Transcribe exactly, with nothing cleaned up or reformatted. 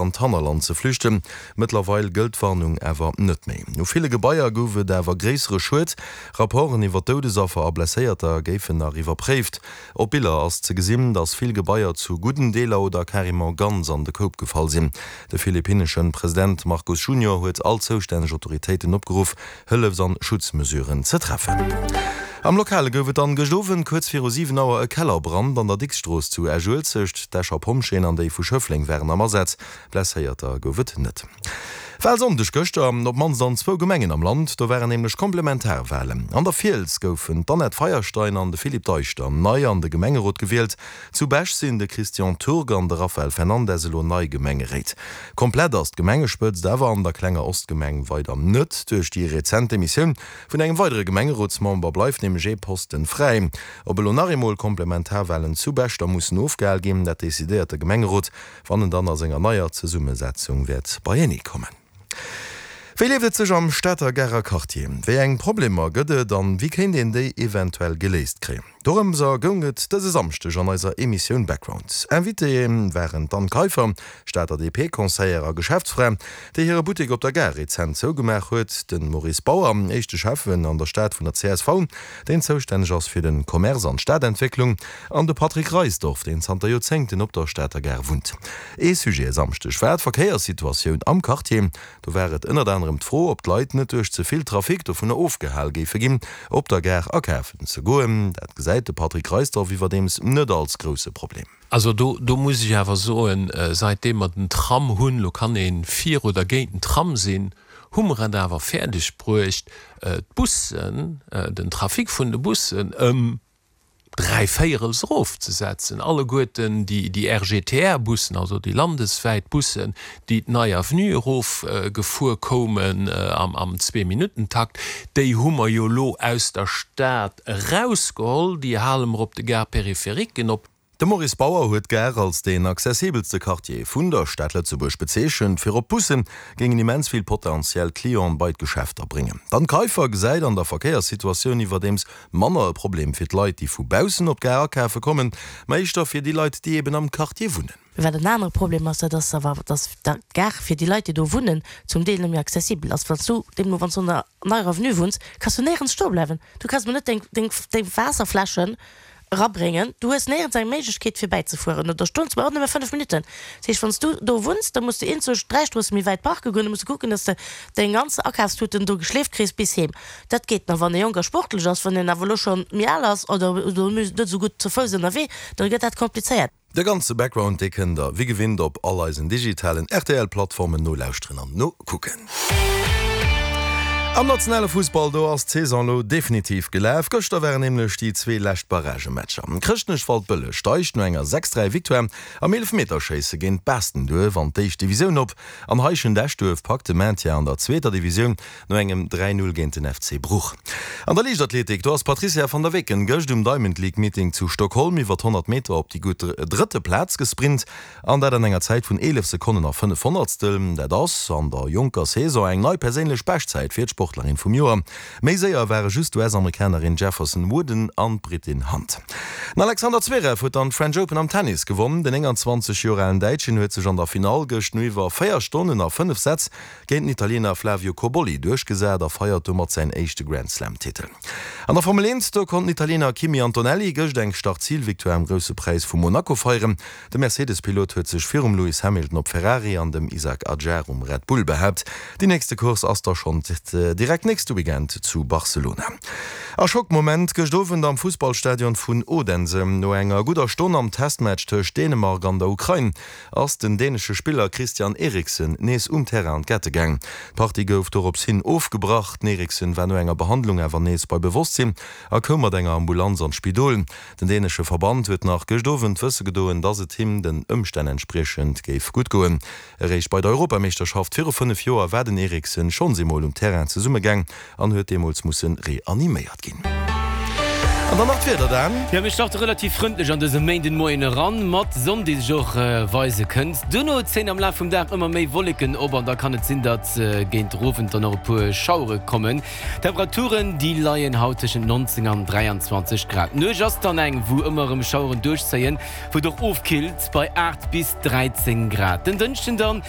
An d'Hannerland ze flüchten. Mëttlerweil gëllt d'Warnung awer net méi. U ville Gebaier gouf et awer gréissere Schued. Rapporten iwwer Doudesaffer a Blesséierter géifen nach iwwerpréift. Op Biller ass ze gesinn, datt vill Gebaier zu gudden Deeler oder carrément ganz an de Koup gefall sinn. De philippinnesche President Marcos Junior huet all zoustänneg Autoritéiten opgeruff, Hëllefs an Schutzmesuren ze treffen. Am Lokale gouf et dann gëscht Owend kuerz viru siwen Auer e Kellerbrand an der Dicksstrooss zu Esch-Uelzecht. D'Escher Pompjeeën an déi vu Schëffleng waren am Asaz. Blesséierter gouf et net. Walsonndeg gëschter op d'mannst an zwou Gemengen am Land, do waren nämlech Komplementarwalen. An der Fiels goufen d'Annette Feierstein an de Philippe Deichter nei an de Gemengerot gewielt. Zu Bech sinn de Christian Turg an de Rafael Fernandes elo nei Gemengeréit. Komplett ass d'Gemengespëtzt awer an der klenger Ostgemeng weider net. Duerch déi rezent Demissioun vun engem weidere Gemengerotsmember bleift nämlech ee Posten fräi. Ob elo nach eemol Komplementarwalen zu Bech da mussen ofgehal ginn, dat decidéiert de Gemengerot, wann en dann a senger neier Zesummesetzung wäert beienee kommen. Wéi lieft et sech am Stater Garer Quartier? Wéi eng Problemer gëtt et an wéi kéint een déi eventuell geléist kréien? Dorëmser goung et dëse Samschdeg an eiser Emissioun Background. Invitéë waren d'Anne Kaiffer, Stater D P-Conseillère a Geschäftsfra, déi hire Buttek op der Gare rezent zougemaach huet, de Maurice Bauer, éischte Schäffen an der Stad vun der C S V, deen zoustänneg ass fir de Commerce an d'Stadentwécklung, an de Patrick Reisdorf, deen zanter Joerzéngten op der Stater Gare wunnt. Ee Sujet e Samschdeg war d'Verkéierssituatioun am Quartier. Do war et ënnert anerem d'Fro, ob d'Leit net duerch ze vill Trafic dovunner ofgehal géife ginn, op der Gare akafen ze goen. Dat gesäit de Patrick Reisdorf iwwerdeems net als grousse Problem. Also do, do muss ech awer soen, säitdeem mer den Tram hunn, lo kann ee fir oder géint den Tram sinn, hu mer et awer fäerdeg bruecht, d'Bussen, den Trafic vun de Bussen ëm dräi Véierels erofzesetzen. Alleguerten déi, déi R G T R-Bussen, also déi landeswäit Bussen, déi d'Nei Avenue erof gefuer koumen am, am Zwee-Minutten-Takt, déi hu mer jo elo aus der Stad erausgeholl, déi hale mer op de Gare-périphériquen op. De Maurice Bauer huet d'Gare als deen accessibelste Quartier vun der Stad Lëtzebuerg bezeechent. Virop d'Busse géingen immens vill potentiell Clienten bei d'Geschäfter bréngen. D'Anne Kaiffer gesäit an der Verkéierssituatioun iwwerdeems manner e Problem fir d'Leit, déi vu baussen op d'Gare akafe kommen, mä éischter fir déi Leit, déi eben am Quartier wunnen. Wat en anere Problem ass, dat ass awer, dass d'Gare fir déi Leit, déi do wunnen, zum Deel net méi accessibel ass. Wann s du deemno, wann s du an der Neier Avenue wunns, kanns du néierens stoe bleiwen. Du kanns mol net deng, deng, deng Waasserfläschen erabréngen. Du hues néierens eng Méiglechkeet fir bäizefueren oder stoen ze bleiwen, och nëmme fënnef Minutten. Dat heescht, wann s du do wunns, da muss du eenzeg dräi Stroosse méi wäit parke goen, da muss du kucken, dass de deng ganz Akafstuten do geschleeft kriss bis heem. Dat geet nach, wann ee jonk a sportlech ass. Wann een awer elo scho méi al ass oder net esou gutt zu Fouss ënnerwee, da gëtt dat komplizéiert. De ganze Background, dee kënnt der wéi gewinnt op all eisen digitalen R T L-Plattformen nolauschteren an nokucken. Am nationale Fussball, do ass d'Saison elo definitiv gelaf. Gëschter waren nämlech déi zwee lescht Barragematcher. Chrëschtnech-Waldbëlleg steigt no enger sechs dräi Victoire am Eelefmeterschéisse géint Baastenduerf an d'éischt Divisioun op. An Heischent-Eschduerf packt de Maintien an der zweeter Divisioun no engem dräi null géint den F C Bruch. An der Liichtathletik, do ass d'Patrizia van der Weken gëscht um Diamond League Meeting zu Stockholm iwwer honnert Meter op déi gutt drëtte Plaz gesprint an dat an enger Zäit vun eelef Sekonnen a fënnef Honnertstel. Dat ass an der jonker Saison eng nei perséinlech Beschtzäit fir d'Sportlerin vum Joer. Méi séier ware just d'U S-Amerikanerin Jefferson Wooden an d'Britin Hunt. Den Alexander Zverev huet dann d'French Open am Tennis gewonn. Den nénganzwanzeg Joer alen Däitschen huet sech an der Finall gëscht no iwwer véier Stonnen a fënnef Sätz géint den Italiener Flavio Cobolli duerchgesat a feiert domat säin éischte Grand-Slam-Titel. An der Formel eent, do konnt den Italiener Kimi Antonelli gëscht eng Start-Zil-Victoire am Grousse Präis vu Monaco feieren. De Mercedes-Pilot huet sech virum Lewis Hamilton op Ferrari an dem Isack Hadjar um Red Bull behaapt. Déi nächste Course ass da schonn direkt nächste Weekend zu Barcelona. A Schockmoment gëscht Owend am Fussballstadion vun Odense. No enger gudder Stonn am Testmatch tëscht Dänemark an der Ukrain ass den dänesche Spiller Christian Eriksen nees um Terrain an d'Gette gaang. D'Partie gouf dorops hin ofgebrach. Den Eriksen war no enger Behandlung awer nees bei Bewosstsinn a koum mat enger Ambulanz an d'Spidol. Den dänesche Verband huet nach gëscht Owend wësse gedoen, dass et him den Ëmstänn entspriechend géif gutt goen. Eréischt bei der Europameeschterschaft viru fënnef Joer war den Eriksen schonns eemol um Terrain zesummegaang an huet deemools musse reaniméiert ginn. An dann nach d'Wieder, Dan. Jo, mir starte relativ frëndlech an dëse Méindenmoien eran, mat Sonn, déi sech och weise kënnt. Duerno zéien am Laf vum Dag ëmmer méi Wolleken op an da kann et sinn, datt géint den Owend dann och e puer Schauere kommen. D'Temperaturen, déi leien haut tëschent neunzéng an dräianzwanzeg Grad. D'Nuecht ass dann eng, wou ëmmer erëm Schaueren duerchzéien, wou et och ofkillt bei aacht bis dräizéng Grad. Den Dënschden dann